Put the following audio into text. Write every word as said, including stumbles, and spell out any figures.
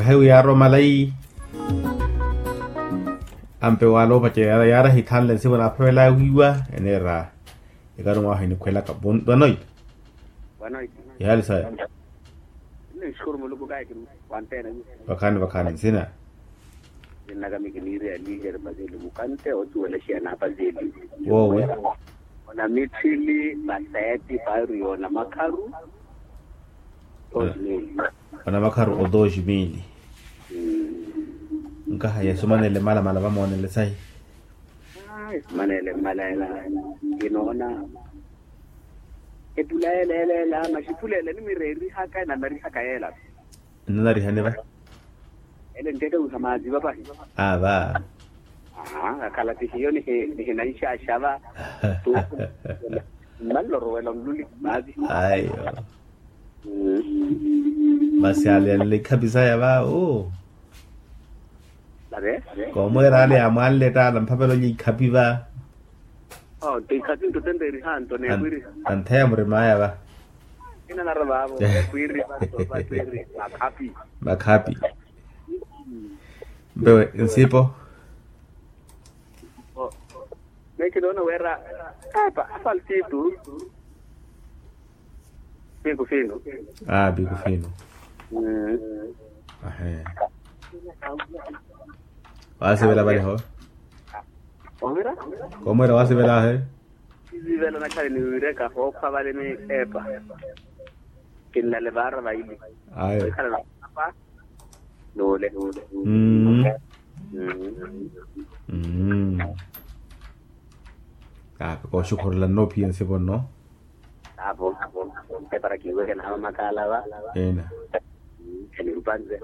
Ehewi yaaromalayi. Ampe wala opacerya yaari ahithanle nsivo naaphavela wiiwa eneera. Ekarumu ahu enikhwelaka vanoyi. Vanoyi. Ihaali saya. Nixukuru muluku kahi kiri. Wantena. Vakhaani vakhaani nsina. Nnaka mikiniiri ya liikeri paseeli mukante otuwela xiya na paseeli. Woowe. Ona mitthili paseeti pairu yoona makharu. Osimili. Wana makharu o dos mili. Nkaha yesu manele malamala vamoonele sahi. Yesu manele mmala ela. Kinoona epula ela ela ela maxiphula ela nimirerihaka enamarihaka yeela. Nnanarihani va? Ele nteeke wiha maazi vapahi. Ava. Aha akhala tihiyo nihinanxaxa va. Mmalorowela onluli maazi. Ayo. Masi ale ale ikhapisaya va o. Komweera ale amwanle taala mpapelo likhapi va. Tikhapi ntutenteerihanto neekwiriha. Antheya murimaya va. Inanara vavo neekwiriha. Makhapi. Makhapi. Mpewe nsipo. Meekinoona wira apa apaltitu. Piku fino. Aa piku fino. Ahe. Waasivela vale ho. Ovira. Komwira waasivela ahe. Sivela nakhale niwireka hookhwa vale ni epa. Kinlale vaara vaili. Ayo. Ekhala na apa. Nuule. Ape kooxukhurela nnoopiya nsipo nno. Apo epara kiiweke nawe makaala va. Ena. Enirupanze.